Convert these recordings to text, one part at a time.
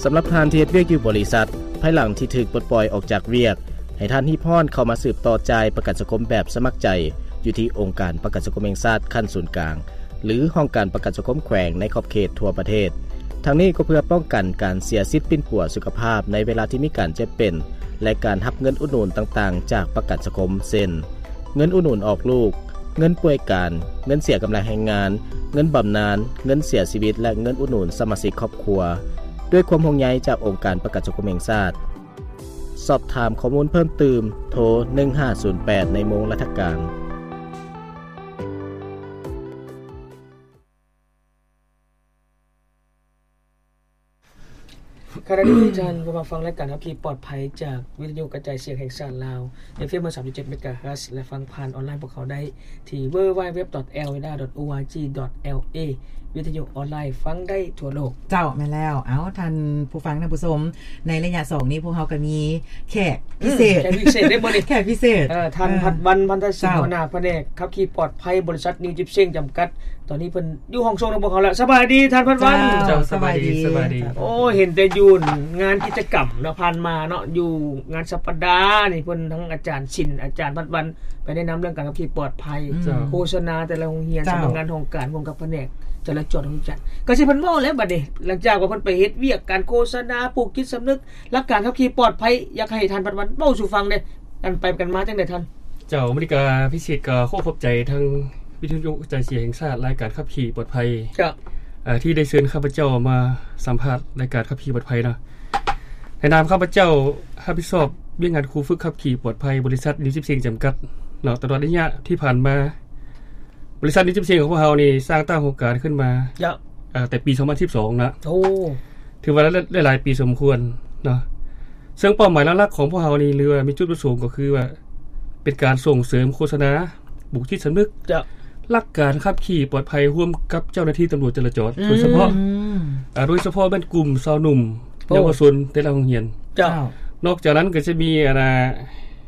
ສຳລັບທ່ານທີ່ເຮັດວຽກຢູ່ບໍລິສັດ, ພາຍຫຼັງທີ່ຖືກປົດປ່ອຍອອກຈາກວຽກ, ໃຫ້ທ່ານຮີບຮ້ອນເຂົ້າມາສືບຕໍ່ຈ່າຍປະກັນສັງຄົມແບບສະໝັກໃຈ ຢູ່ທີ່ອົງການປະກັນສັງຄົມແຫ່ງຊາດຂັ້ນສູນກາງ ຫຼື ຫ້ອງການປະກັນສັງຄົມແຂວງໃນຂອບເຂດທົ່ວປະເທດ. ທັງນີ້ກໍເພື່ອປ້ອງກັນການເສຍສິດປິ່ນປົວສຸຂະພາບໃນເວລາທີ່ມີການເຈັບເປັນ ແລະ ການຮັບເງິນອຸດໜູນຕ່າງໆຈາກປະກັນສັງຄົມ ເຊັ່ນ ເງິນອຸດໜູນອອກລູກ, ເງິນປ່ວຍການ, ເງິນເສຍກຳລັງແຮງງານ, ເງິນບຳນານ, ເງິນເສຍຊີວິດ ແລະ ເງິນອຸດໜູນສະມາຊິກຄອບຄົວ. ດ້ວຍຄວາມຫ່ວງໃຍຈາກອົງການປະກັນສັງຄົມແຫ່ງຊາດ. ສອບຖາມຂໍ້ມູນເພີ່ມຕື່ມ ໂທ ໜຶ່ງຫ້າສູນແປດ ໃນໂມງລັດຖະການ. ຂະນະນີ້ທ່ານກໍມາຟັງລາຍການຂັບຂີ່ປອດໄພຈາກວິທະຍຸກະຈາຍສຽງແຫ່ງຊາດລາວ ເອັຟເອັມ ຮ້ອຍສາມຈຸດເຈັດ ເມກາເຮີດ ແລະ ຟັງຜ່ານອອນລາຍພວກເຮົາໄດ້ທີ່ ดัບເບິນຢູດັບເບິນຢູດັບເບິນຢູ ອອດແອລເອ ດອດໂອອາຈີ ດອດແອລເອ ວິທະຍຸອອນລາຍຟັງໄດ້ທົ່ວໂລກ. ເຈົ້າ ແມ່ນແລ້ວ. ເອົ້າ ທ່ານຜູ້ຟັງທ່ານຜູ້ຊົມ ໃນໄລຍະສອງນີ້ ພວກເຮົາກໍມີແຂກພິເສດ ອືມ ແຂກພິເສດເດ້ມື້ນີ້ ແຂກພິເສດ ເອີ ທ່ານ ເອີ ພັດວັນ ພັນທະສິນ ເຈົ້າ ຫົວໜ້າພະແນກຂັບຂີ່ປອດໄພ ບໍລິສັດ New Gypsum ຈຳກັດ. ຕອນນີ້ເພິ່ນຢູ່ຫ້ອງສົ່ງນຳພວກເຮົາແລ້ວ. ສະບາຍດີທ່ານພັດວັນ. ເຈົ້າ ເຈົ້າ ສະບາຍດີ ສະບາຍດີ ສະບາຍດີ. ໂອ້ ເຫັນແຕ່ຢູ່ງານກິດຈະກຳເນາະ ຜ່ານມາເນາະ ຢູ່ງານສັບປະດານີ້ ເພິ່ນທັງອາຈານສິນ ອາຈານພັດວັນ ໄປແນະນຳເລື່ອງການຂັບຂີ່ປອດໄພ ເຈົ້າ ໂຄສະນາແຕ່ລະໂຮງຮຽນ ເຈົ້າ ສຳນັກງານຫ້ອງການ ຫ້ອງການພະແນກ ຈະລາຈອນ ຫ້ອງຈັດ ກໍຊິເພິ່ນເວົ້າແລ້ວບັດນີ້ ຫຼັງຈາກວ່າເພິ່ນໄປເຮັດວຽກການໂຄສະນາ ປູກຈິດສຳນຶກ ຫຼັກການຂັບຂີ່ປອດໄພ ຢາກໃຫ້ທ່ານພັດວັນເວົ້າສູ່ຟັງແດ່ ກັນໄປກັນມາຈັ່ງໃດທ່ານ? ເຈົ້າ ມື້ນີ້ກະພິເສດກະຂໍຂອບໃຈທາງວິທະຍຸກະຈາຍສຽງແຫ່ງຊາດ ລາຍການຂັບຂີ່ປອດໄພ ເຈົ້າ ເອີ ທີ່ໄດ້ເຊີນຂ້າພະເຈົ້າມາສຳພາດລາຍການຂັບຂີ່ປອດໄພເນາະ. ໃນນາມຂ້າພະເຈົ້າຮັບຜິດຊອບວຽກງານຄູຝຶກຂັບຂີ່ປອດໄພ ບໍລິສັດ New Gypsum ຈຳກັດເນາະ ຕະຫຼອດໄລຍະທີ່ຜ່ານມາ ບໍລິສັດ New Gypsum ຂອງພວກເຮົານີ້ສ້າງຕັ້ງໂຄງການຂຶ້ນມາ ເຈົ້າ ເອີ ແຕ່ປີສອງພັນສິບສອງນະ. ໂອ້ ຖືວ່າຫຼາຍໆປີສົມຄວນເນາະ ເຊິ່ງເປົ້າໝາຍຫຼັກໆຂອງພວກເຮົານີ້ ຫຼືວ່າມີຈຸດປະສົງກໍຄືວ່າ ເປັນການສົ່ງເສີມໂຄສະນາ ປູກຈິດສຳນຶກ ເຈົ້າ ຫຼັກການຂັບຂີ່ປອດໄພຮ່ວມກັບເຈົ້າໜ້າທີ່ຕຳຫຼວດຈະລາຈອນ ອືມ ໂດຍສະເພາະ ອືມ ອາ ໂດຍສະເພາະແມ່ນກຸ່ມຊາວໜຸ່ມ ໂອ້ ເຍົາວະຊົນແຕ່ລະໂຮງຮຽນ ເຈົ້າ ເຈົ້າ ນອກຈາກນັ້ນກໍຈະມີ ອັນນ່າ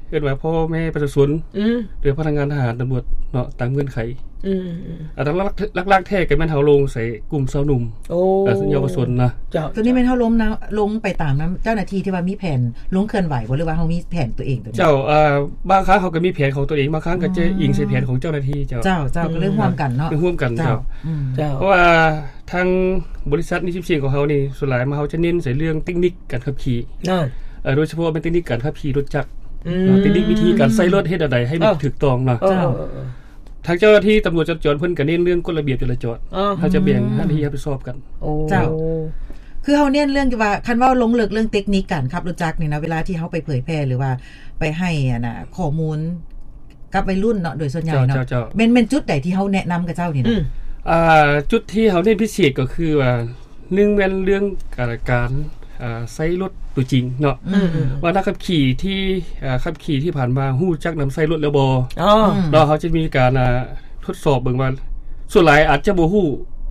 ເອີ້ນວ່າພໍ່ແມ່ປະຊາຊົນ ອືມ ຫຼືພະນັກງານທະຫານຕຳຫຼວດເນາະ ຕາມເງື່ອນໄຂ ອືມ ອືມ ອາ ຫຼັກໆ ຫຼັກໆແທ້ກໍແມ່ນເຮົາລົງໃສ່ກຸ່ມຊາວໜຸ່ມ ໂອ້ ເຍົາວະຊົນນະ ເຈົ້າ ຕົວນີ້ແມ່ນເຮົາລົງນະ ລົງໄປຕາມນຳເຈົ້າໜ້າທີ່ທີ່ວ່າມີແຜນລົງເຄື່ອນໄຫວບໍ່ ຫຼືວ່າເຮົາມີແຜນຕົວເອງຕົວນີ້? ເຈົ້າ ອາ ບາງຄັ້ງເຮົາກໍມີແຜນຂອງຕົວເອງ ບາງຄັ້ງກໍຈະ ອືມ ອີງໃສ່ແຜນຂອງເຈົ້າໜ້າທີ່ ເຈົ້າ ເຈົ້າ ເຈົ້າ ອືມ ກໍເລີຍຮ່ວມກັນເນາະ ຮ່ວມກັນ ເຈົ້າ ເຈົ້າ ອືມ ເຈົ້າ ເພາະວ່າ ທາງບໍລິສັດ New Gypsum ຂອງເຮົານີ້ ສ່ວນຫຼາຍມາເຮົາຈະເນັ້ນໃສ່ເລື່ອງເຕັກນິກການຂັບຂີ່ ເອີ ໂດຍສະເພາະແມ່ນເຕັກນິກການຂັບຂີ່ລົດຈັກ ອືມ ເນາະ ເຕັກນິກວິທີການໃຊ້ລົດເຮັດແນວໃດໃຫ້ມັນ ເອີ ຖືກຕ້ອງເນາະ ເຈົ້າ ເອີ ເອີ ເອີ ທາງເຈົ້າໜ້າທີ່ຕຳຫຼວດຈະລາຈອນເພິ່ນກໍເນັ້ນເລື່ອງກົດລະບຽບຈະລາຈອນ ເອີ ເຮົາຈະແບ່ງ ອືມ ໜ້າທີ່ຮັບຜິດຊອບກັນ ໂອ້ ເຈົ້າ ຄືເຮົາເນັ້ນເລື່ອງທີ່ວ່າ ຄັນເວົ້າລົງເລິກເລື່ອງເຕັກນິກການຂັບລົດຈັກນີ້ນະ ເວລາທີ່ເຮົາໄປເຜີຍແຜ່ ຫຼືວ່າໄປໃຫ້ ອັນນ່າ ຂໍ້ມູນ ກັບໄວລຸ້ນເນາະ ໂດຍສ່ວນໃຫຍ່ເນາະ ເຈົ້າ ເຈົ້າ ແມ່ນ ແມ່ນຈຸດໃດທີ່ເຮົາແນະນຳກັບເຈົ້ານີ້ນະ? ອືມ ອ່າ ຈຸດທີ່ເຮົາເນັ້ນພິເສດກໍຄືວ່າ ໜຶ່ງແມ່ນເລື່ອງ ການ ການ ອ່າ ໃຊ້ລົດຕົວຈິງເນາະ ອືມ ວ່ານັກຂັບຂີ່ທີ່ ອ່າ ຂັບຂີ່ທີ່ຜ່ານມາຮູ້ຈັກນຳໃຊ້ລົດແລ້ວບໍ່ ອໍ ເນາະ ເຮົາຈະມີການ ອ່າ ທົດສອບເບິ່ງວ່າ ສ່ວນຫຼາຍອາດຈະບໍ່ຮູ້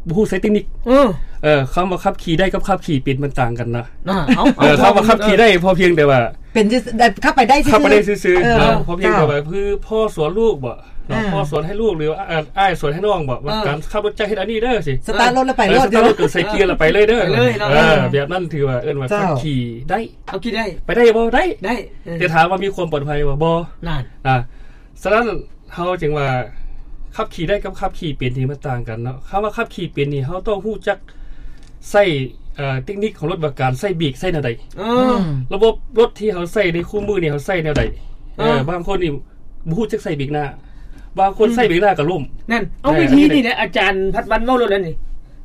ບໍ່ຮູ້ໃຊ້ເຕັກນິກ ເອີ ເອີ ຄຳວ່າຂັບຂີ່ໄດ້ກັບຂັບຂີ່ເປັນມັນຕ່າງກັນນະ ອ່າ ເອົາ ເອີ ເອົາ ຄຳວ່າຂັບຂີ່ໄດ້ ເອີ ພໍພຽງແຕ່ວ່າ ເປັນຊື່ ແບບຂັບໄປໄດ້ຊື່ໆ ເອີ ເນາະ ພໍພຽງແຕ່ວ່າ ເອີ ຄືພໍ່ສອນລູກບໍ ເນາະ ອ່າ ພໍ່ສອນໃຫ້ລູກ ຫຼືວ່າ ອາ ອ້າຍສອນໃຫ້ນ້ອງບໍ ວ່າ ເອີ ການຂັບລົດຈັກເຮັດອັນນີ້ເດີ ຊິ ສະຕາດລົດແລ້ວໄປໂລດ ເອີ ສະຕາດລົດ ໃສ່ເກຍແລ້ວໄປເລີຍເດີ ໄປເລີຍເນາະ ເອີ ເອີ ແບບນັ້ນຖືວ່າເອີ້ນວ່າ ເຈົ້າ ຂັບຂີ່ໄດ້ ເອົາຂີ່ໄດ້ ໄປໄດ້ບໍ່ ໄດ້ ໄດ້ ເອີ ແຕ່ຖາມວ່າມີຄວາມປອດໄພບໍ່ ບໍ່ ນັ້ນ ອ່າ ສະນັ້ນ ເຮົາຈຶ່ງວ່າ ຂັບຂີ່ໄດ້ກັບຂັບຂີ່ເປັນນີ້ມັນຕ່າງກັນເນາະ ຄຳວ່າຂັບຂີ່ເປັນນີ້ ເຮົາຕ້ອງຮູ້ຈັກໃຊ້ ເອີ ເຕັກນິກຂອງລົດ ວ່າການໃຊ້ເບຣກໃຊ້ແນວໃດ ເອີ ອືມ ລະບົບລົດທີ່ເຮົາໃຊ້ໃນຄູ່ມື້ນີ້ ເຮົາໃຊ້ແນວໃດ ເອີ ເອີ ບາງຄົນນີ້ບໍ່ຮູ້ຈັກໃຊ້ເບຣກໜ້າ ບາງຄົນ ອືມ ໃຊ້ເບຣກໜ້າກໍລົ້ມ ນັ້ນ ເອົາ ເອີ ວິທີນີ້ແຫຼະ ອາຈານພັດວັນເວົ້າໂລດແລ້ວນີ້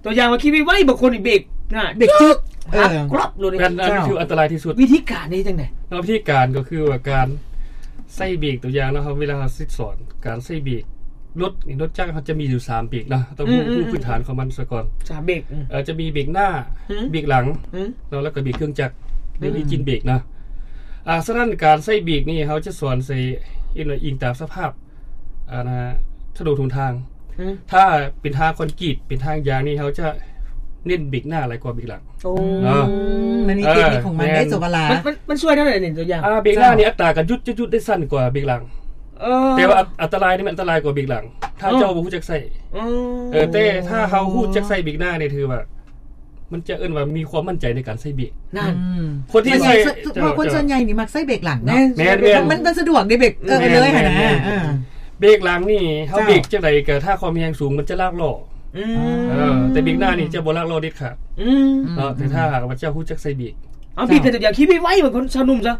ຕົວຢ່າງວ່າຂີ່ໄວໆ ບາງຄົນນີ້ເບຣກໜ້າ ເບຣກຈຶກ ເອີ ກຣອບໂລດນີ້ ແມ່ນ ອັນນີ້ຄືອັນຕະລາຍທີ່ສຸດ ວິທີການນີ້ຈັ່ງໃດ? ເນາະ ວິທີການກໍຄືວ່າການໃຊ້ເບຣກ ຕົວຢ່າງເນາະ ເຮົາ ເວລາເຮົາຊິສອນການໃຊ້ເບຣກ ລົດນີ້ ລົດຈັກເຮົາຈະມີຢູ່ສາມເບຣກເນາະ ຕ້ອງຮູ້ ອືມ ຮູ້ພື້ນຖານຂອງມັນສາກ່ອນ ສາມເບຣກ ອືມ ເອີ ຈະມີເບຣກໜ້າ ອືມ ເບຣກຫຼັງ ອືມ ເນາະ ແລ້ວກໍເບຣກເຄື່ອງຈັກ ຫຼື ອືມ ເບຣກເນາະ ອ່າ ສະນັ້ນການໃຊ້ເບຣກນີ້ເຮົາຈະສອນໃສ່ ອີງຕາມສະພາບ ອັນນ່າ ຖະໜົນຫົນທາງ ອືມ ຖ້າເປັນທາງຄອນກຣີດ ເປັນທາງຢາງນີ້ ເຮົາຈະເນັ້ນເບຣກໜ້າຫຼາຍກວ່າເບຣກຫຼັງ ໂອ້ ເນາະ ມັນມີເຕັກນິກຂອງມັນ ເອີ ເດ້ ແມ່ນ ໂສວະລາ ມັນ ມັນ ມັນຊ່ວຍແນວໃດນີ້ ຕົວຢ່າງ ອ່າ ເບຣກໜ້ານີ້ ເຈົ້າ ອັດຕາການຢຸດ ຢຸດ ຢຸດໄດ້ສັ້ນກວ່າເບຣກຫຼັງ ເອີ ແຕ່ວ່າອັນ ອັນຕະລາຍນີ້ມັນອັນຕະລາຍກວ່າເບຣກຫຼັງ ຖ້າ ເອີ ເຈົ້າບໍ່ຮູ້ຈັກໃຊ້ ເອີ ເອີ ແຕ່ຖ້າເຮົາຮູ້ຈັກໃຊ້ເບຣກໜ້ານີ້ ຖືວ່າ ມັນຈະເອີ້ນວ່າມີຄວາມໝັ້ນໃຈໃນການໃຊ້ເບຣກ. ນັ້ນ ອືມ ຄົນທີ່ໃຊ້ ເພາະວ່າຄົນສ່ວນໃຫຍ່ນີ້ມັກໃຊ້ເບຣກຫຼັງເນາະ. ແມ່ນ ແມ່ນ ມັນ ມັນສະດວກເດ້ເບຣກ ເອີ ເລີຍຫັ້ນນະ. ເອີ ເບຣກຫຼັງນີ້ ເຮົາເບຣກຈັ່ງໃດກໍຖ້າຄວາມແຮງສູງມັນຈະລາກລໍ້. ອືມ ເອີ ແຕ່ເບຣກໜ້ານີ້ຈະບໍ່ລາກລໍ້ເດັດຂາດ. ອືມ ເນາະ ແຕ່ຖ້າຫາກວ່າເຈົ້າຮູ້ຈັກໃຊ້ເບຣກ. ເອົາ ເຈົ້າ ບີບແຕ່ຕົວຢ່າງ ຂີ່ໄວໆ ເໝືອນຄົນຊາວໜຸ່ມຊະ.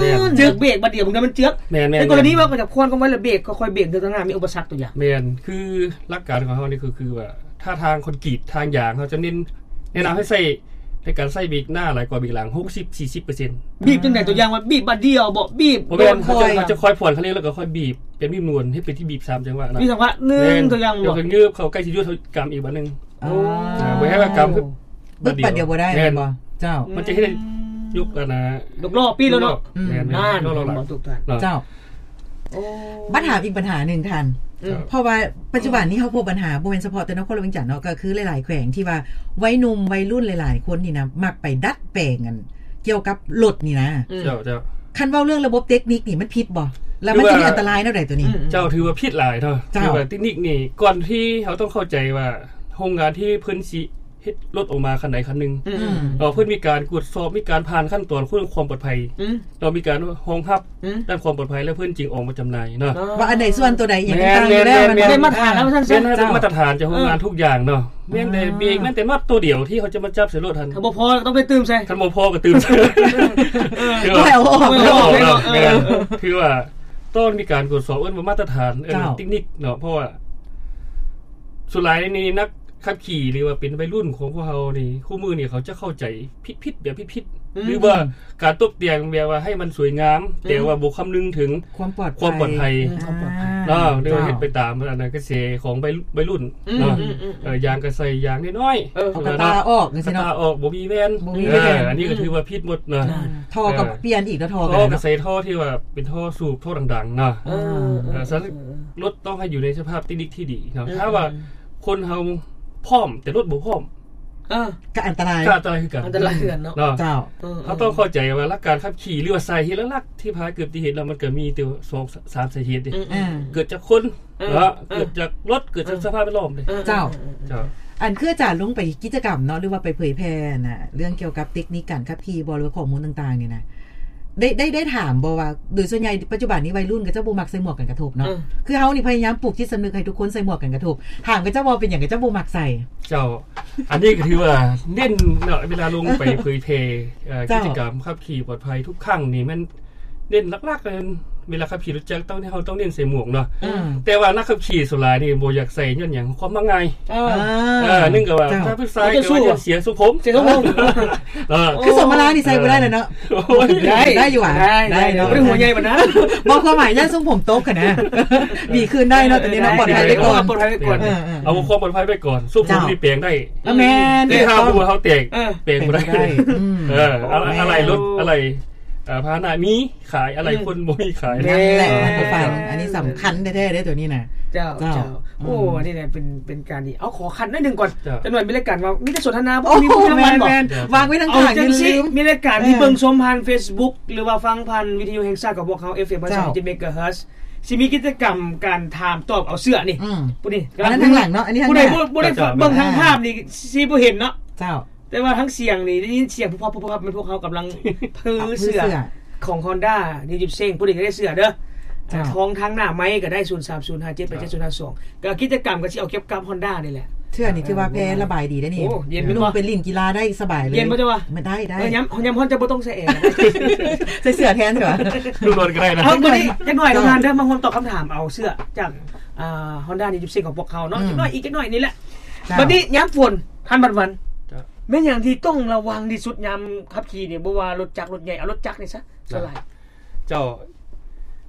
ແມ່ນ ເຈີກເບຣກບາດດຽວ ບາງເທື່ອມັນເຈືອກ. ແມ່ນໆ ໃນກໍລະນີວ່າກໍຈະຄວນຄວາມໄວ ແລະ ເບຣກຄ່ອຍໆ ເບຣກ ເທື່ອຂ້າງໜ້າມີອຸປະສັກຕົວຢ່າງ. ແມ່ນ ຄືຫຼັກການຂອງເຮົານີ້ຄື ຄືວ່າ ຖ້າທາງຄອນກຣີດ ທາງຢາງ ເຮົາຈະເນັ້ນ ແນະນຳໃຫ້ໃຊ້ ໃນການໃຊ້ເບຣກໜ້າຫຼາຍກວ່າເບຣກຫຼັງ ຫົກສິບ ສີ່ສິບເປີເຊັນ. ບີບຈັ່ງໃດ? ຕົວຢ່າງວ່າບີບບາດດຽວບໍ? ບີບ ບໍ່ແມ່ນ ເຮົາຈະ ເຮົາຈະຄ່ອຍຜ່ອນຄັນເລັ່ງ ແລ້ວກໍຄ່ອຍບີບເປັນບີບນວນ ເຮັດເປັນທີ່ບີບສາມຈັງຫວະນະ. ມີຈັງຫວະໜຶ່ງ ແມ່ນ ຕົວຢ່າງ ແລ້ວກໍງືບເຂົ້າໃກ້ຊິຢຸດ ເຮົາກຳອີກບາດໜຶ່ງ. ອໍ ອ່າ ບໍ່ໃຫ້ວ່າກຳບາດດຽວ ບາດດຽວບໍ່ໄດ້. ແມ່ນ ແມ່ນບໍ່? ເຈົ້າ ມັນຈະເຮັດໃຫ້ຍົກອັນນະ ຍົກລໍ້ປີ້ແລ້ວເນາະ. ອືມ ແມ່ນໆ ນັ້ນ ຍົກລໍ້ຫຼັງ ເນາະ ເຈົ້າ. ໂອ້ ມາຖາມອີກບັນຫາໜຶ່ງທ່ານ. ອືມ ເພາະວ່າປັດຈຸບັນນີ້ເຮົາພົບບັນຫາ ບໍ່ແມ່ນສະເພາະແຕ່ນະຄອນຫຼວງວຽງຈັນເນາະ ກໍຄືຫຼາຍໆແຂວງທີ່ວ່າໄວໜຸ່ມໄວລຸ້ນຫຼາຍໆຄົນນີ້ນະ ມັກໄປດັດແປງອັນກ່ຽວກັບລົດນີ້ນະ. ອືມ ເຈົ້າ ເຈົ້າ ຄັນເວົ້າເລື່ອງລະບົບເຕັກນິກນີ້ມັນຜິດບໍ່? ແລ້ວມັນຈະມີອັນຕະລາຍແນວໃດຕົວນີ້? ອືມ ເຈົ້າ ຖືວ່າຜິດຫຼາຍເນາະ. ເຈົ້າ ຖືວ່າເຕັກນິກນີ້ ກ່ອນທີ່ເຮົາຕ້ອງເຂົ້າໃຈວ່າໂຮງງານທີ່ເພິ່ນຊິ ເຮັດລົດອອກມາຄັນໃດຄັນໜຶ່ງ ອືມ ເນາະ ເພິ່ນມີການກວດສອບ ມີການຜ່ານຂັ້ນຕອນຂອງຄວາມປອດໄພ ອືມ ເນາະ ມີການຮອງຮັບ ອືມ ດ້ານຄວາມປອດໄພ ແລ້ວເພິ່ນຈຶ່ງອອກມາຈຳໜ່າຍເນາະ. ອໍ ວ່າອັນໃດສ່ວນຕົວໃດອີ່ຫຍັງຕ່າງຢູ່ແລ້ວ ແມ່ນ ແມ່ນ ໄດ້ມາດຕະຖານແລ້ວວ່າຊັ້ນຊະ. ເຈົ້າ ໄດ້ມາດຕະຖານຈາກໂຮງງານ ເອີ ທຸກຢ່າງເນາະ. ແມ່ນແຕ່ເບຣກ ແມ່ນແຕ່ນັດໂຕດຽວທີ່ເຮົາຈະມາຈັບໃສ່ລົດຫັ້ນ ຖ້າບໍ່ພໍກໍຕ້ອງໄປຕື່ມໃສ່ ຄັນບໍ່ພໍກໍຕື່ມໃສ່ ເອີ ຄືວ່າ ເອົາອອກ ເອົາອອກເນາະ. ເອີ ແມ່ນ ຄືວ່າຕ້ອງມີການກວດສອບ ເອີ້ນວ່າມາດຕະຖານ ເອີ້ນວ່າ ເຈົ້າ ເຕັກນິກເນາະ ເພາະວ່າສ່ວນຫຼາຍນີ້ນັກ ຂັບຂີ່ ຫຼືວ່າເປັນໄວລຸ້ນຂອງພວກເຮົານີ້ ຄູ່ມື້ນີ້ເຂົາຈະເຂົ້າໃຈຜິດໆ ແບບຜິດໆ ອືມ ຫຼືວ່າການຕົບແຕ່ງແບບວ່າໃຫ້ມັນສວຍງາມ ອືມ ແຕ່ວ່າບໍ່ຄຳນຶງເຖິງຄວາມປອດໄພ ຄວາມປອດໄພ ອືມ ຄວາມປອດໄພ ເນາະ ຫຼືວ່າເຮັດໄປຕາມອັນນະກະແສຂອງໄວ ໄວລຸ້ນເນາະ. ອືມ ເອີ ຢາງກະໃສ່ຢາງນ້ອຍໆ ເອົາກະຕາອອກຈັ່ງຊີ້ເນາະ ກະຕາອອກ ບໍ່ມີແວ່ນ ບໍ່ມີແວ່ນ ເອີ ອັນນີ້ກໍຖືວ່າຜິດໝົດເນາະ. ອືມ ທໍ່ກໍປ່ຽນອີກເນາະ ທໍ່ກໍໃສ່ທໍ່ທີ່ວ່າເປັນທໍ່ສູບ ທໍ່ດັງໆເນາະ. ເອີ ເອີ ເອີ ເອີ ເອີ ລົດຕ້ອງໃຫ້ຢູ່ໃນສະພາບເຕັກນິກທີ່ດີເນາະ. ອືມ ຖ້າວ່າ ອືມ ຄົນເຮົາພ້ອມ ແຕ່ລົດບໍ່ພ້ອມ ເອີ ກໍອັນຕະລາຍ ກໍອັນຕະລາຍຄືກັນ ອັນຕະລາຍຄືກັນເນາະ. ເຈົ້າ ເອີ ເຮົາຕ້ອງເຂົ້າໃຈວ່າຫຼັກການຂັບຂີ່ ຫຼືວ່າສາເຫດຫຼັກໆທີ່ພາເກີດອຸບັດຕິເຫດເນາະ ມັນກໍມີແຕ່ສອງສາມສາເຫດເດ້. ອືມ ເອີ ເກີດຈາກຄົນ ເອີ ເນາະ ເອີ ເກີດຈາກລົດ ເກີດຈາກ ເອີ ສະພາບແວດລ້ອມເດ້. ເອີ ເຈົ້າ ເອີ ເຈົ້າ ອັນຄືອາຈານລົງໄປກິດຈະກຳເນາະ ຫຼືວ່າໄປເຜີຍແຜ່ນະ ເລື່ອງກ່ຽວກັບເຕັກນິກການຂັບຂີ່ບໍ ຫຼືວ່າຂໍ້ມູນຕ່າງໆນີ້ນະ ໄດ້ ໄດ້ ໄດ້ຖາມບໍ່ວ່າ ໂດຍສ່ວນໃຫຍ່ປັດຈຸບັນນີ້ໄວລຸ້ນເຂົາເຈົ້າບໍ່ມັກໃສ່ໝວກກັນກະທົບເນາະ. ເອີ ຄືເຮົານີ້ພະຍາຍາມປູກຈິດສຳນຶກໃຫ້ທຸກຄົນໃສ່ໝວກກັນກະທົບ. ຖາມເຂົາເຈົ້າວ່າເປັນຫຍັງເຂົາເຈົ້າບໍ່ມັກໃສ່? ເຈົ້າ ອັນນີ້ກໍຖືວ່າເນັ້ນເນາະ ເວລາລົງໄປເຜີຍແຜ່ ເອີ ເຈົ້າ ກິດຈະກຳຂັບຂີ່ປອດໄພທຸກຄັ້ງນີ້ ແມ່ນເນັ້ນຫຼັກໆເລີຍ ເວລາຂັບຂີ່ລົດຈັກຕ້ອງ ເຮົາຕ້ອງເນັ້ນໃສ່ໝວກເນາະ. ອືມ ແຕ່ວ່ານັກຂັບຂີ່ສ່ວນຫຼາຍນີ້ບໍ່ຢາກໃສ່ຍ້ອນຫຍັງ? ຄວາມມັກງ່າຍ. ເອີ ເອີ ໜຶ່ງກໍວ່າ ເຈົ້າ ຖ້າຜູ້ຊາຍກໍວ່າຢ້ານເສຍຊົງຜົມ ເສຍຊົງຜົມ. ເອີ ຄືສົມມາລານີ້ໃສ່ບໍ່ໄດ້ແລ້ວເນາະ. ໂອ້ຍ ໄດ້ ໄດ້ຢູ່ຫວາ? ໄດ້ ໄດ້ເນາະ ບໍ່ໄດ້ຫົວໃຫຍ່ປານນັ້ນ. ບໍ່ ຄວາມໝາຍຢ້ານຊົງຜົມຕົກຫັ້ນນະ ຫວີຄືນໄດ້ເນາະ ຕອນນີ້ເນາະ ເອີ ປອດໄພໄວ້ກ່ອນ ເອີ ປອດໄພໄວ້ກ່ອນ. ເອີ ເອີ ເອີ ເອົາຄວາມປອດໄພໄວ້ກ່ອນ. ຊົງຜົມນີ້ແປງໄດ້ ເອີ ແມ່ນ ແຕ່ຖ້າຫົວເຮົາແຕກ ເອີ ແປງບໍ່ໄດ້. ເອີ ອາໄລລົດ ອາໄລ ເອີ ພາຫະນະມີ ຂາຍອາໄລ ອືມ ຄົນບໍ່ມີຂາຍ. ນັ້ນແຫຼະ ເອີ ອັນນີ້ສຳຄັນແທ້ໆເດ້ ຕົວນີ້ນະ. ເຈົ້າ ເຈົ້າ ເຈົ້າ ອືມ ໂອ້ ອັນນີ້ແຫຼະເປັນ ເປັນການດີ. ເອົາ ຂໍຂັ້ນໜ້ອຍໜຶ່ງກ່ອນ. ເຈົ້າ ຈັກໜ້ອຍມີລາຍການເວົ້າ ມີແຕ່ສົນທະນາ ບໍ່ມີຜູ້ນຳມັນບໍ? ແມ່ນໆ ວາງໄວ້ທາງຂ້າງ ຈັ່ງຊີ້ ມີລາຍການທີ່ ເອີ ເບິ່ງຊົມຜ່ານເຟສບຸກ ຫຼືວ່າຟັງຜ່ານວິທະຍຸແຫ່ງຊາດຂອງພວກເຮົາ ເອັຟເອັມ ຮ້ອຍສາມເຈັດ ເມກາເຮີດ ຊິມີກິດຈະກຳການຖາມຕອບເອົາເສື້ອນີ້. ອືມ ຜູ້ນີ້ ອັນນັ້ນທາງຫຼັງເນາະ ອັນນີ້ທາງໜ້າ. ຜູ້ໃດບໍ່ ບໍ່ໄດ້ເບິ່ງທາງພາບນີ້ ຊິບໍ່ເຫັນເນາະ. ເຈົ້າ ແຕ່ວ່າທັງສຽງນີ້ ໄດ້ຍິນສຽງ ແມ່ນພວກເຮົາກຳລັງເພີເສື້ອຂອງຮອນດ້າ ນິວຈິບເຊັງ. ຜູ້ໃດຢາກໄດ້ເສື້ອເດີ ເຈົ້າ ທອງທາງໜ້າໄມ້ກໍໄດ້ ສູນສາມສູນຫ້າເຈັດແປດເຈັດສູນຫ້າສອງ. ກໍກິດຈະກຳກໍຊິເອົາກ່ຽວກັບຮອນດ້ານີ້ແຫຼະ. ເສື້ອນຸ່ງເປັນລິ້ນກິລາໄດ້ສະບາຍເລີຍ. ໂອ້ ເຢັນ ນຸ່ງເປັນລິ້ນກິລາໄດ້ສະບາຍເລີຍ. ເຢັນບໍ່ເຈົ້າວ່າ? ມັນໄດ້ ໄດ້ ເອີ ຍາມ ຍາມຮ້ອນເຈົ້າບໍ່ຕ້ອງໃສ່ແອ. ໃສ່ເສື້ອແທນເຖາະ ນຸ່ງນອນກໍໄດ້ນະ. ເອົາ ມື້ນີ້ຈັກໜ້ອຍ ເອີ ທ່ານເດີ ມາຮ່ວມຕອບຄຳຖາມ ເອົາເສື້ອຈາກ ອ່າ ຮອນດ້າ ນິວຈິບເຊັງຂອງພວກເຮົາເນາະ. ອືມ ຈັກໜ້ອຍອີກ ຈັກໜ້ອຍນີ້ແຫຼະ. ເຈົ້າ ບັດນີ້ຍາມຝົນ ທ່ານບັນວັນ ເຈົ້າ ແມ່ນຫຍັງທີ່ຕ້ອງລະວັງທີ່ສຸດຍາມຂັບຂີ່ນີ້? ບໍ່ວ່າລົດຈັກລົດໃຫຍ່ ເອົາລົດຈັກນີ້ຊະ ສ່ວນຫຼາຍ. ເຈົ້າ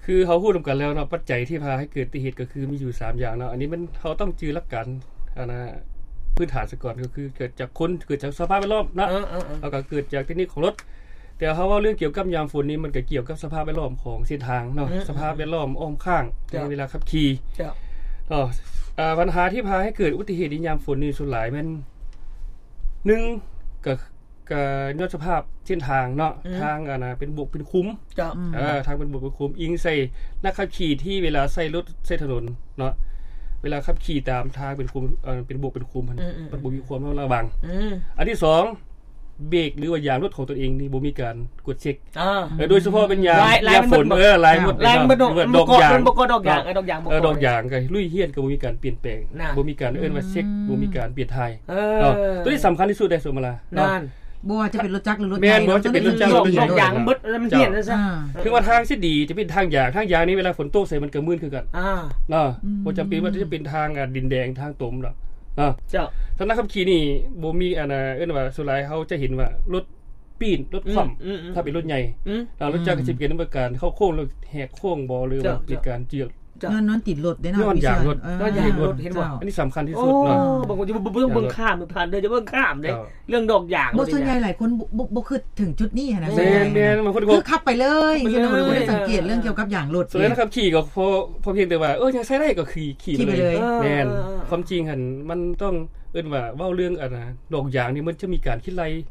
ຄືເຮົາຮູ້ນຳກັນແລ້ວເນາະ ປັດໄຈທີ່ພາໃຫ້ເກີດອຸບັດຕິເຫດກໍຄືມີຢູ່ສາມຢ່າງເນາະ. ອັນນີ້ມັນ ເຮົາຕ້ອງຈື່ຫຼັກການ ອັນນະ ພື້ນຖານຊະກ່ອນ ກໍຄືເກີດຈາກຄົນ ເກີດຈາກສະພາບແວດລ້ອມເນາະ. ເອີ ເອີ ເອີ ແລ້ວກໍເກີດຈາກເຕັກນິກຂອງລົດ. ແຕ່ເຮົາເວົ້າເລື່ອງກ່ຽວກັບຍາມຝົນນີ້ ມັນກໍກ່ຽວກັບສະພາບແວດລ້ອມຂອງເສັ້ນທາງເນາະ. ອືມ ສະພາບແວດລ້ອມອ້ອມຂ້າງ ເຈົ້າ ໃນເວລາຂັບຂີ່ ເຈົ້າ ເນາະ. ອ່າ ບັນຫາທີ່ພາໃຫ້ເກີດອຸບັດຕິເຫດໃນຍາມຝົນນີ້ ສ່ວນຫຼາຍແມ່ນ ໜຶ່ງ ກໍ ກໍຍ້ອນສະພາບເສັ້ນທາງເນາະ. ອືມ ທາງອັນນະ ເປັນບົກເປັນຂຸມ ເຈົ້າ ເອີ ທາງເປັນບົກເປັນຂຸມ ອີງໃສ່ນັກຂັບຂີ່ທີ່ເວລາໃຊ້ລົດໃຊ້ຖະໜົນເນາະ ເວລາຂັບຂີ່ຕາມທາງເປັນຂຸມ ເອີ ເປັນບວກເປັນຂຸມຫັ້ນ ອືມໆໆ ມັນບໍ່ມີຄວາມລະວັງ. ອືມ ອັນທີສອງ ເບຣກ ຫຼືວ່າຢາງລົດຂອງຕົນເອງນີ້ບໍ່ມີການກວດເຊັກ. ອ່າ ເອີ ໂດຍສະເພາະເປັນຢາງ ລາຍ ລາຍມັນເບິດບໍ່? ເອີ ລາຍມັນເບິດ ລາຍມັນເບິດເນາະ ມັນບໍ່ເກາະ ມັນບໍ່ເກາະດອກຢາງ ເອີ ດອກຢາງບໍ່ເກາະ ເອີ ດອກຢາງກໍລຸຍຮຽນກໍບໍ່ມີການປ່ຽນແປງ ນະ ບໍ່ມີການເອີ້ນວ່າເຊັກ ອືມ ບໍ່ມີການປ່ຽນຖ່າຍ ເອີ ເນາະ ໂຕນີ້ສຳຄັນທີ່ສຸດເດ້ ສົມມະລາ ນັ້ນ ເນາະ ບໍ່ວ່າຈະເປັນລົດຈັກ ຫຼື ລົດໃຫຍ່ ບໍ່ວ່າຈະເປັນລົດຈັກ ຫຼື ລົດໃຫຍ່ ດອກຢາງມັນເບິດ ມັນປ່ຽນຊະ ເອີ ເຖິງວ່າທາງຊິດີ ຈະເປັນທາງຢາງ ທາງຢາງນີ້ເວລາຝົນຕົກໃສ່ມັນກໍມື່ນຄືກັນ ອ່າ ເນາະ ອືມ ບໍ່ຈຳເປັນວ່າຈະເປັນທາງ ອ່າ ດິນແດງ ທາງຕົມດອກ ເນາະ ເຈົ້າ ສຳລັບຂັບຂີ່ນີ້ບໍ່ມີ ອັນ ເອີ້ນວ່າ ສ່ວນຫຼາຍເຮົາຈະເຫັນວ່າລົດ ປີ້ນ ລົດຄວ່ຳ ອືມ ອືມ ຖ້າເປັນລົດໃຫຍ່ ອືມ ອ່າ ລົດຈັກ ອືມ ກໍຊິເປັນເລື່ອງການເຂົ້າໂຄ້ງ ຫຼືແຫກໂຄ້ງບໍ ຫຼືວ່າ ເຈົ້າ ເປັນການເຈື່ອນ ເຈົ້າ ຍ້ອນ ຍ້ອນຕິດລົດເດ້ເນາະ ຍ້ອນຢາງລົດ ເອີ ຍ້ອນຢາງລົດ ເຫັນບໍ່ ອັນນີ້ສຳຄັນທີ່ສຸດເນາະ ໂອ້ ບາງຄົນຈະເບິ່ງ ເບິ່ງຂ້າມ ຜ່ານເດີ ຈະເບິ່ງຂ້າມເດ້ ເຈົ້າ ເລື່ອງດອກຢາງ ບໍ່ ສ່ວນໃຫຍ່ຫຼາຍຄົນບໍ່ ບໍ່ ບໍ່ຄິດເຖິງຈຸດນີ້ຫັ້ນນະ ແມ່ນໆ ບາງຄົນກໍຄືຂັບໄປເລີຍ ຂັບໄປເລີຍ ບໍ່ໄດ້ສັງເກດເລື່ອງກ່ຽວກັບຢາງລົດ ສ່ວນໃຫຍ່ຂັບຂີ່ກໍພໍ ພໍພຽງແຕ່ວ່າ ເອີ ຍັງໃຊ້ໄດ້ກໍຂີ່ ຂີ່ໄປເລີຍ ຂີ່ໄປເລີຍ ເອີ ແມ່ນ ເອີ ຄວາມຈິງຫັ້ນມັນຕ້ອງ ເອີ້ນວ່າເວົ້າເລື່ອງ ອັນນະ ດອກຢາງນີ້ມັນຈະມີການຄິດໄລ່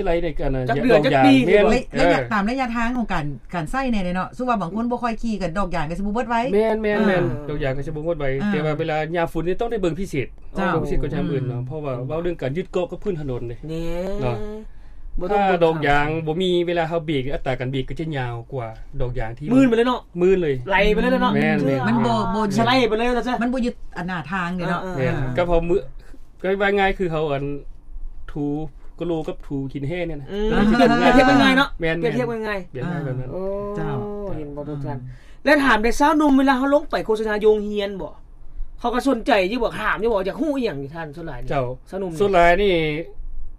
ທີ່ໄລ່ໃນການ ຈັກເດືອນ ຈັກປີ ແມ່ນ ໄລ ໄລຍະ ເອີ ຕາມໄລຍະທາງຂອງການ ການໃຊ້ແດ່ເນາະ ສົມມຸດວ່າບາງຄົນບໍ່ຄ່ອຍຂີ່ ກໍດອກຢາງກໍຊິບໍ່ເບິດໄວ ແມ່ນໆໆ ອ່າ ດອກຢາງກໍຊິບໍ່ເບິດໄວ ອ່າ ແຕ່ວ່າເວລາຍາມຝົນນີ້ຕ້ອງໄດ້ເບິ່ງພິເສດ ເຈົ້າ ເບິ່ງພິເສດກວ່າຍາມອື່ນເນາະ ເພາະວ່າເວົ້າເລື່ອງການຍຶດເກາະກັບພື້ນຖະໜົນເດ້ ນີ້ ເນາະ ບໍ່ຕ້ອງ ຖ້າດອກຢາງບໍ່ມີ ເວລາເຮົາເບຣກ ອັດຕາການເບຣກກໍຈະຍາວກວ່າດອກຢາງທີ່ ມື່ນໄປເລີຍເນາະ ມື່ນເລີຍ ໄຫຼໄປເລີຍເນາະ ແມ່ນໆ ມັນບໍ່ ບໍ່ ສະໄລໄປເລີຍ ມັນບໍ່ຍຶດອັນໜ້າທາງເດ້ເນາະ ເອີ ແມ່ນ ເອີ ກໍເພາະມື້ ກໍວ່າງ່າຍຄືເຮົາ ອັນ ຖູກະໂຫຼກັບຖູຂີ້ນແຮ່ນີ້ນະ ອືມ ປຽບທຽບງ່າຍເນາະ ແມ່ນໆ ປຽບທຽບງ່າຍ ປຽບທຽບງ່າຍແບບນັ້ນ ໂອ້ ເຈົ້າ ເຫັນບໍ່ທຸກທ່ານ ອືມ ແລະຖາມແດ່ ຊາວໜຸ່ມ ເວລາເຮົາລົງໄປໂຄສະນາຢູ່ໂຮງຮຽນບໍ ເຂົາກໍສົນໃຈຢູ່ບໍ ຖາມຢູ່ບໍ ຢາກຮູ້ອີ່ຫຍັງນີ້ທ່ານ ສ່ວນຫຼາຍນີ້ ເຈົ້າ ຊາວໜຸ່ມ ສ່ວນຫຼາຍນີ້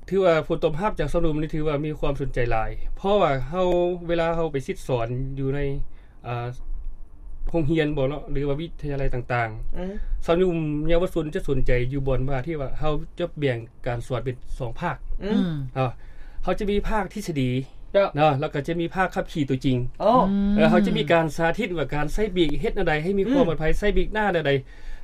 ຖືວ່າຜົນຕອບຮັບຈາກຊາວໜຸ່ມນີ້ ຖືວ່າມີຄວາມສົນໃຈຫຼາຍ ເພາະວ່າເຮົາ ເວລາເຮົາໄປສິດສອນຢູ່ໃນ ອ່າ ໂຮງຮຽນບໍເນາະ ຫຼືວ່າວິທະຍາໄລຕ່າງໆ ອືມ ຊາວໜຸ່ມເຍົາວະຊົນຈະສົນໃຈຢູ່ບ່ອນວ່າ ທີ່ວ່າເຮົາຈະແບ່ງການສອນເປັນສອງພາກ ອືມ ອືມ ເນາະ ເຮົາຈະມີພາກທິດສະດີ ເຈົ້າ ເນາະ ແລ້ວກໍຈະມີພາກຂັບຂີ່ຕົວຈິງ ໂອ້ ອືມ ເອີ ເຮົາຈະມີການສາທິດວ່າການໃຊ້ເບຣກເຮັດແນວໃດໃຫ້ມີຄວາມ ອືມ ປອດໄພ ໃຊ້ເບຣກໜ້າແນວໃດ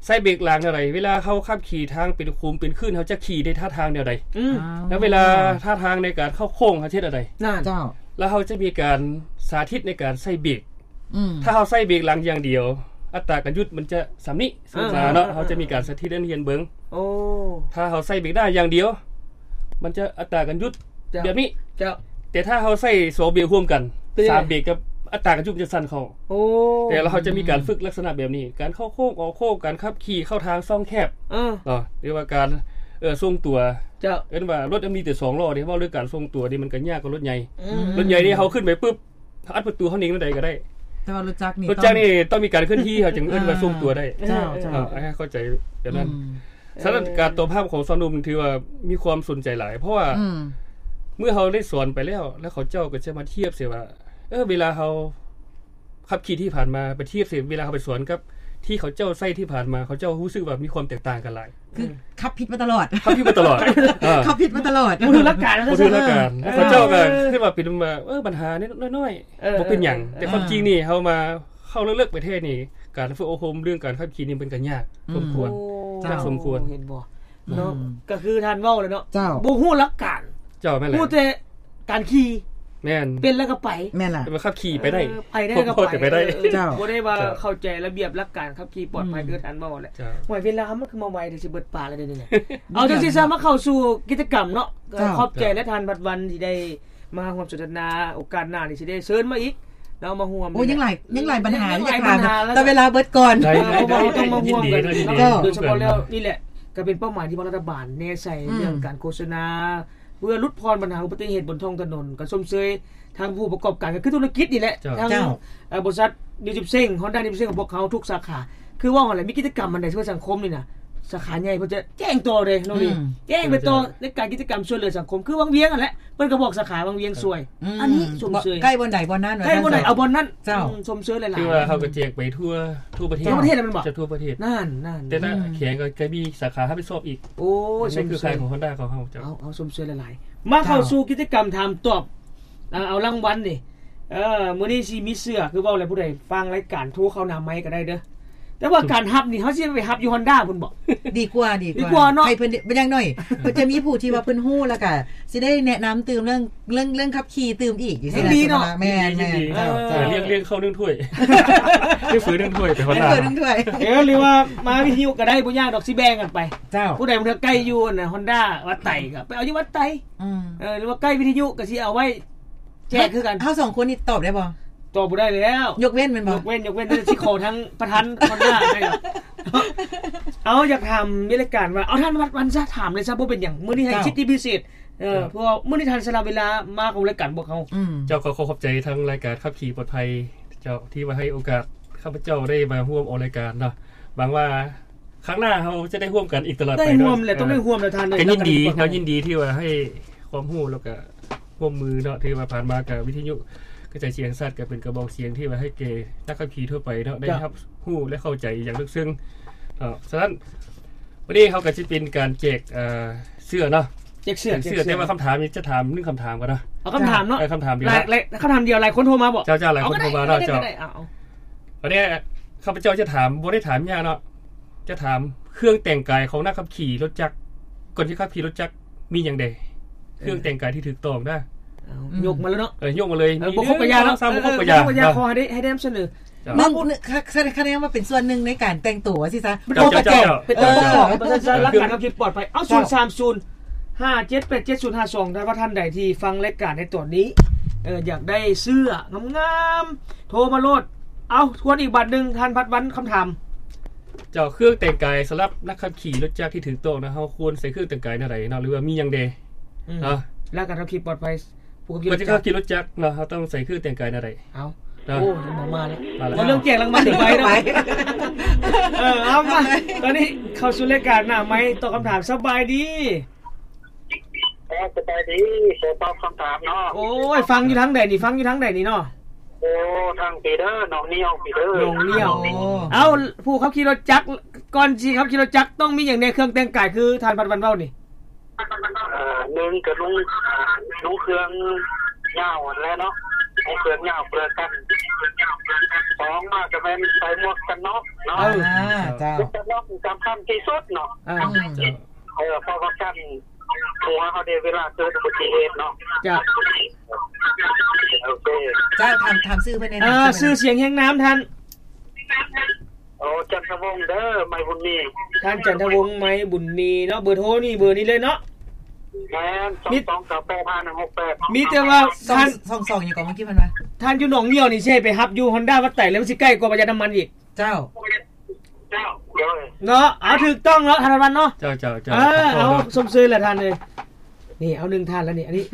ໃຊ້ເບຣກຫຼັງແນວໃດ ເວລາເຮົາຂັບຂີ່ທາງເປັນຂຸມເປັນຄື້ນ ເຮົາຈະຂີ່ໃນທ່າທາງແນວໃດ ອືມ ແລ້ວເວລາທ່າທາງໃນການເຂົ້າໂຄ້ງ ເຮົາຈະເຮັດແນວໃດ ນັ້ນ ເຈົ້າ ແລ້ວເຮົາຈະມີການສາທິດໃນການໃຊ້ເບຣກ ອືມ ຖ້າເຮົາໃຊ້ເບຣກຫຼັງຢ່າງດຽວ ອັດຕາການຢຸດມັນຈະສ່ຳນີ້ ສົມມຸດວ່າເນາະ ອ່າ ເຮົາຈະມີການສາທິດໃຫ້ນັກຮຽນເບິ່ງ ໂອ້ ຖ້າເຮົາໃຊ້ເບຣກໜ້າຢ່າງດຽວ ມັນຈະອັດຕາການຢຸດ ເຈົ້າ ແບບນີ້ ເຈົ້າ ແຕ່ຖ້າເຮົາໃຊ້ສອງເບຣກຮ່ວມກັນ ເປັນ ສາມເບຣກກັບອັດຕາການຢຸດມັນຈະສັ້ນເຂົ້າ ໂອ້ ແຕ່ລະເຮົາຈະມີການຝຶກລັກສະນະແບບນີ້ ການເຂົ້າໂຄ້ງອອກໂຄ້ງ ການຂັບຂີ່ເຂົ້າທາງຊ່ອງແຄບ ເອີ ເນາະ ຫຼືວ່າການ ເອີ ຊົງຕົວ ເຈົ້າ ເອີ້ນວ່າລົດມັນມີແຕ່ສອງລໍ້ເດ້ ເວົ້າເລື່ອງການຊົງຕົວນີ້ມັນກໍຍາກກວ່າລົດໃຫຍ່ ອືມ ລົດໃຫຍ່ນີ້ເຮົາຂຶ້ນໄປປຶບ ອັດປະຕູເຮົາເໜັງແນວໃດກໍໄດ້ ແຕ່ວ່າລົດຈັກນີ້ ລົດຈັກນີ້ຕ້ອງມີການເຄື່ອນທີ່ ເຮົາຈຶ່ງເອີ້ນວ່າ ອ່າ ຊົງຕົວໄດ້ ເຈົ້າ ເຈົ້າ ເນາະ ໃຫ້ເຂົ້າໃຈແບບນັ້ນ ອືມ ສະນັ້ນ ເອີ ການຕອບຮັບຂອງຊາວໜຸ່ມຖືວ່າມີຄວາມສົນໃຈຫຼາຍ ເພາະວ່າ ອືມ ເມື່ອເຮົາໄດ້ສອນໄປແລ້ວ ແລ້ວເຂົາເຈົ້າກໍຈະມາທຽບໃສ່ວ່າ ເອີ ເວລາເຮົາຂັບຂີ່ທີ່ຜ່ານມາ ໄປທຽບໃສ່ເວລາເຮົາໄປສອນກັບທີ່ເຂົາເຈົ້າໃຊ້ທີ່ຜ່ານມາ ເຂົາເຈົ້າຮູ້ສຶກວ່າມີຄວາມແຕກຕ່າງກັນຫຼາຍ ຄື ອືມ ຂັບຜິດມາຕະຫຼອດ ຂັບຜິດມາຕະຫຼອດ ເອີ ຂັບຜິດມາຕະຫຼອດ ບໍ່ຖືກຫຼັກການ ບໍ່ຖືກຫຼັກການ ເອີ ເຂົາເຈົ້າກໍຄິດວ່າເປັນວ່າ ເອີ ບັນຫານ້ອຍໆ ເອີ ບໍ່ເປັນຫຍັງ ເອີ ແຕ່ຄວາມຈິງນີ້ ເອີ ເຮົາມາເຂົ້າເລິກໆໄປແທ້ນີ້ ການຝຶກອົບຮົມເລື່ອງການຂັບຂີ່ນີ້ມັນກໍຍາກ ອືມ ສົມຄວນ ໂອ້ ຍາກສົມຄວນ ເຫັນບໍ່ ອືມ ເນາະ ກໍຄືທ່ານເວົ້າແຫຼະເນາະ ເຈົ້າ ບໍ່ຮູ້ຫຼັກການ ເຈົ້າ ແມ່ນແຫຼະ ຮູ້ແຕ່ ການຂີ່ ແມ່ນ ເປັນແລ້ວກໍໄປ ແມ່ນລະ ແຕ່ວ່າຂັບຂີ່ໄປໄດ້ ເອີ ໄປໄດ້ກໍໄປ ພໍໄປໄດ້ ເອີ ເຈົ້າ ບໍ່ໄດ້ວ່າ ເຈົ້າ ເຂົ້າໃຈລະບຽບຫຼັກການຂັບຂີ່ປອດໄພ ອືມ ຄືທ່ານເວົ້າແຫຼະ ເຈົ້າ ໂອ້ຍ ເວລາມັນຄືມາໄວແຕ່ຊິເບິດປານແລ້ວເດນີ້ນະ ເອົາ ເບິດແລ້ວ ຈັ່ງຊີ້ຊະ ມາເຂົ້າສູ່ກິດຈະກຳເນາະ ເຈົ້າ ຂອບໃຈ ແລະ ທ່ານພັດວັນທີ່ໄດ້ມາຮ່ວມສົນທະນາ ໂອກາດໜ້ານີ້ຊິໄດ້ເຊີນມາອີກເນາະ ມາຮ່ວມ ໂອ້ ນີ້ແຫຼະ ຍັງຫຼາຍ ຍັງຫຼາຍບັນຫາ ຍັງຫຼາຍບັນຫາ ແຕ່ເວລາເບິດກ່ອນ ໄດ້ ເອີ ເພາະວ່າເຮົາຕ້ອງມາຮ່ວມກັນ ຍິນດີ ເຈົ້າ ໂດຍສະເພາະແລ້ວນີ້ແຫຼະ ກໍເປັນເປົ້າໝາຍທີ່ວ່າລັດຖະບານແນໃສ່ ອືມ ເລື່ອງການໂຄສະນາ ເພື່ອຫຼຸດຜ່ອນບັນຫາອຸບັດຕິເຫດບົນທ້ອງຖະໜົນ ກໍຊົມເຊີຍທາງຜູ້ປະກອບການ ກໍຄືທຸລະກິດນີ້ແຫຼະ ເຈົ້າ ທາງ ເຈົ້າ ເອີ ບໍລິສັດນິວຈິບເຊັງ ຮອນດ້ານິວຈິບເຊັງຂອງພວກເຮົາທຸກສາຂາ ຄືເວົ້າຫັ້ນແຫຼະ ມີກິດຈະກຳອັນໃດເພື່ອສັງຄົມນີ້ນະ ສາຂາໃຫຍ່ເພິ່ນຈະແຈ້ງຕໍ່ເດ້ນ້ອງນີ້ ອືມ ແຈ້ງໄປຕໍ່ ເຈົ້າ ໃນການກິດຈະກຳຊ່ວຍເຫຼືອສັງຄົມ ຄືວັງວຽງຫັ້ນແຫຼະ ເພິ່ນກໍບອກສາຂາວັງວຽງຊ່ວຍ ອືມ ອັນນີ້ຊົມເຊີຍ ໃກ້ບ່ອນໃດບ່ອນນັ້ນ ໃກ້ບ່ອນໃດເອົາບ່ອນນັ້ນ ເຈົ້າ ອືມ ຊົມເຊີຍຫຼາຍໆ ຄືວ່າເຮົາກໍແຈກໄປທົ່ວ ທົ່ວປະເທດ ທົ່ວປະເທດແລ້ວແມ່ນບໍ່ ຈະທົ່ວປະເທດ ນັ້ນໆ ແຕ່ລະ ອືມ ແຂວງກໍ ກໍມີສາຂາຮັບຜິດຊອບອີກ ໂອ້ຍ ນັ້ນຄືຄ່າຍຂອງຮອນດ້າຂອງເຮົາ ເຈົ້າ ເອົາ ເອົາ ຊົມເຊີຍຫຼາຍໆ ມາເຂົ້າ ເຈົ້າ ສູ່ກິດຈະກຳຖາມຕອບ ເອີ ເອົາລາງວັນນີ້ ເອີ ມື້ນີ້ຊິມີເສື້ອ ຄືເວົ້າແລ້ວ ຜູ້ໃດຟັງລາຍການໂທເຂົ້າໜ້າໄມກະໄດ້ເດີ ແຕ່ວ່າການຮັບນີ້ ເຮົາຊິໄປຮັບຢູ່ຮອນດ້າພຸ້ນບໍ? ດີກວ່າ ດີກວ່າ ດີກວ່າເນາະ ໃຫ້ເພິ່ນ ຢ່າງໜ້ອຍ ເພິ່ນຈະມີຜູ້ທີ່ວ່າເພິ່ນຮູ້ ແລ້ວກະຊິໄດ້ແນະນຳຕື່ມເລື່ອງ ເລື່ອງ ເລື່ອງຂັບຂີ່ຕື່ມອີກ ຈັ່ງຊີ້ນະ ດີເນາະ ແມ່ນ ແມ່ນ ເຈົ້າ ເຈົ້າ ເອີ ລ້ຽງ ລ້ຽງເຂົ້າໜຶ່ງຖ້ວຍ ລ້ຽງເຝີໜຶ່ງຖ້ວຍ ໄປຮອນດ້າ ເອີ ຫຼືວ່າມາວິທະຍຸກະໄດ້ ບໍ່ຍາກດອກ ຊິແບ່ງກັນໄປ ເຈົ້າ ຜູ້ໃດບາງເທື່ອໃກ້ຢູ່ ອັນ ຮອນດ້າວັດໄຕ ກະໄປເອົາຢູ່ວັດໄຕ ອືມ ເອີ ຫຼືວ່າໃກ້ວິທະຍຸກະຊິເອົາໄວ້ ແຈກຄືກັນ ເຮົາສອງຄົນນີ້ຕອບໄດ້ບໍ່? ຕອບບໍ່ໄດ້ແລ້ວ ຍົກເວັ້ນແມ່ນບໍ່? ຍົກເວັ້ນ ຍົກເວັ້ນ ຊິຂໍທາງປະທານຮອນດ້າໃຫ້ດອກ ເອົາ ຢາກຖາມມີລາຍການວ່າ ເອົາ ທ່ານວັນຊະ ຖາມເລີຍຊະ ບໍ່ເປັນຫຍັງ ມື້ນີ້ໃຫ້ສິດທິພິເສດ ເອີ ເພາະວ່າມື້ນີ້ທ່ານສະຫຼະເວລາມາຂອງລາຍການພວກເຮົາ ອືມ ເຈົ້າ ຂໍຂອບໃຈທາງລາຍການຂັບຂີ່ປອດໄພ ເຈົ້າ ທີ່ວ່າໃຫ້ໂອກາດຂ້າພະເຈົ້າໄດ້ມາຮ່ວມອອກລາຍການເນາະ ຫວັງວ່າ ຄັ້ງໜ້າເຮົາຈະໄດ້ຮ່ວມກັນອີກຕະຫຼອດໄປເນາະ ຕ້ອງໄດ້ຮ່ວມແຫຼະ ເອີ ຕ້ອງໄດ້ຮ່ວມແຫຼະທ່ານເອີຍ ກະຍິນດີ ເນາະ ຍິນດີທີ່ວ່າໃຫ້ຄວາມຮູ້ ແລ້ວກະຮ່ວມມືເນາະ ຖືວ່າຜ່ານມາກະວິທະຍຸກະຈາຍສຽງແຫ່ງຊາດ ກະເປັນກະບອກສຽງທີ່ວ່າໃຫ້ແກ່ນັກຂັບຂີ່ທົ່ວໄປເນາະ ໄດ້ຮັບຮູ້ ແລະ ເຂົ້າໃຈຢ່າງເລິກເຊິ່ງເນາະ ສະນັ້ນ ມື້ນີ້ເຮົາກະຊິເປັນການແຈກ ເອີ ເສື້ອເນາະ ແຈກເສື້ອ ແຈກເສື້ອ ແຕ່ວ່າຄຳຖາມນີ້ຈະຖາມໜຶ່ງຄຳຖາມກ່ອນເນາະ ເອົາຄຳຖາມເນາະ ເອີ ຄຳຖາມດຽວ ຫຼາຍ ຫຼາຍ ຄຳຖາມດຽວ ຫຼາຍຄົນໂທມາບໍ? ເຈົ້າ ເຈົ້າ ຫຼາຍຄົນໂທມາເນາະ ເຈົ້າ ເອົາ ອັນນີ້ຂ້າພະເຈົ້າຈະຖາມ ບໍ່ໄດ້ຖາມຍາກເນາະ ຈະຖາມເຄື່ອງແຕ່ງກາຍຂອງນັກຂັບຂີ່ລົດຈັກ ກ່ອນຊິຂັບຂີ່ລົດຈັກມີຫຍັງແດ່? ເອີ ເຄື່ອງແຕ່ງກາຍທີ່ຖືກຕ້ອງນະ ເອົາ ຍົກມາເລີຍເນາະ ເອີ ຍົກມາເລີຍ ເອີ ມີ ບໍ່ຄົບກະຢ່າເນາະ ໜຶ່ງ ສອງ ສາມ ບໍ່ຄົບກະຢ່າ ເອີ ບໍ່ຄົບກະຢ່າ ຂໍໃຫ້ໄດ້ ໃຫ້ໄດ້ນຳສະເໜີ ເຈົ້າ ເບິ່ງ ຄະແນນວ່າເປັນສ່ວນໜຶ່ງໃນການແຕ່ງໂຕວ່າຊີ້ຊະ ເຈົ້າ ເປັນໂຕກະແຈກ ເຈົ້າ ເປັນໂຕກະແຈກ ເອີ ເປັນສັນລັກການຂັບຂີ່ປອດໄພ ເອົາ ເຈົ້າ ສູນສາມສູນ ຫ້າເຈັດແປດເຈັດສູນຫ້າສອງ ຖ້າວ່າທ່ານໃດທີ່ຟັງລາຍການໃນຕອນນີ້ ເອີ ຢາກໄດ້ເສື້ອງາມໆ ໂທມາໂລດ ເອົາ ທວນອີກບາດໜຶ່ງ ທ່ານພັດວັນ ຄຳຖາມ ເຈົ້າ ເຄື່ອງແຕ່ງກາຍສຳລັບນັກຂັບຂີ່ລົດຈັກທີ່ຖືກຕ້ອງນະ ເຮົາຄວນໃສ່ເຄື່ອງແຕ່ງກາຍແນວໃດເນາະ ຫຼືວ່າມີຫຍັງແດ່ ອືມ ເນາະ ແລ້ວການຂັບຂີ່ປອດໄພ ຜູ້ຂັບຂີ່ລົດຈັກ ເຮົາຕ້ອງໃສ່ເຄື່ອງແຕ່ງກາຍແນວໃດ? ເອົາ ເນາະ ໂອ້ ມາແລ້ວ ມາແລ້ວ ເວົ້າເລື່ອງແຈກລາງວັນເດໄປເນາະ ເອີ ເອົາມາ ຕອນນີ້ເຂົ້າສູ່ລາຍການໜ້າໄມ ຕອບຄຳຖາມ ສະບາຍດີ ເອີ ສະບາຍດີ ຂໍຕອບຄຳຖາມເນາະ ໂອ້ຍ ຟັງຢູ່ທາງໃດນີ້? ຟັງຢູ່ທາງໃດນີ້ເນາະ? ໂອ້ ທາງພີເດີ ໜອງນຽວພີເດີ ໜອງນຽວ ໂອ້ ເອົາ ຜູ້ຂັບຂີ່ລົດຈັກ ກ່ອນຊິຂັບຂີ່ລົດຈັກ ຕ້ອງມີຫຍັງແດ່ ເຄື່ອງແຕ່ງກາຍ ຄືທ່ານພັດວັນເວົ້ານີ້? ເອີ ໜຶ່ງກະນຸ່ງ ນຸ່ງເຄື່ອງຍາວຫັ້ນແຫຼະເນາະ ນຸ່ງເຄື່ອງຍາວເພື່ອກັນ ສອງມາກະແມ່ນໃສ່ໝວກກັນນັອກເນາະ ເອີ ເຈົ້າ ໝວກກັນນັອກສຳຄັນທີ່ສຸດເນາະ ເອີ ເອີ ເພາະວ່າກັນຫົວເຮົາເດ ເວລາເກີດອຸບັດຕິເຫດເນາະ ເຈົ້າ ໂອເຄ ເຈົ້າ ຖາມ ຖາມຊື່ເພິ່ນແດ່ ເອີ ຊື່ສຽງຮຽງນາມທ່ານ? ໂອ ຈັນທະວົງເດີ ໄມບຸນມີ ທ່ານຈັນທະວົງ ໄມບຸນມີເນາະ ເບີໂທນີ້ ເບີນີ້ເລີຍເນາະ ແມ່ນ ສອງສອງເກົ້າແປດຫ້າໜຶ່ງຫົກແປດ ມີແຕ່ວ່າ ສອງ ທ່ານ ສອງສອງຫຍັງເກາະ ເມື່ອກີ້ເພິ່ນວ່າ ທ່ານຢູ່ໜອງນຽວນີ້ ຊິໃຫ້ໄປຮັບຢູ່ຮອນດ້າວັດໄຕ ແລ້ວມັນຊິໃກ້ກວ່າປະຢັດນ້ຳມັນອີກ ເຈົ້າ ເຈົ້າ ໂດຍ ເນາະ ເອົາ ຖືກຕ້ອງເນາະ ທ່ານວັນເນາະ ເຈົ້າ ເຈົ້າ ເຈົ້າ ເອີ ເອົາ ຊົມເຊີຍລະທ່ານເອີຍ ນີ້ ເອົາໜຶ່ງທ່ານລະນີ້ ອັນນີ້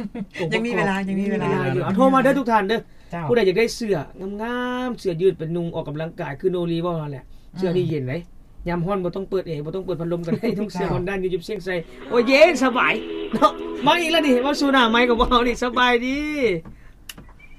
ຍັງມີເວລາ ຍັງມີເວລາ ເອົາ ໂທມາເດີທຸກທ່ານເດີ ເຈົ້າ ຜູ້ໃດຢາກໄດ້ເສື້ອງາມໆ ເສື້ອຢືດໄປນຸ່ງອອກກຳລັງກາຍ ຄືໂນລີເວົ້າຫັ້ນແຫຼະ ອືມ ເສື້ອນີ້ເຢັນເດ້ ຍາມຮ້ອນບໍ່ຕ້ອງເປີດແອ ບໍ່ຕ້ອງເປີດພັດລົມກະໄດ້ ນຸ່ງເສື້ອ ເຈົ້າ ຮອນດ້ານຢູ່ ເຢັບເຊງໄຊ ໂອ້ຍ ເຢັນສະບາຍເນາະ ມາອີກລະນີ້ ເວົ້າສູ່ໜ້າໄມກະບໍ່ເອົານີ້ ສະບາຍດີ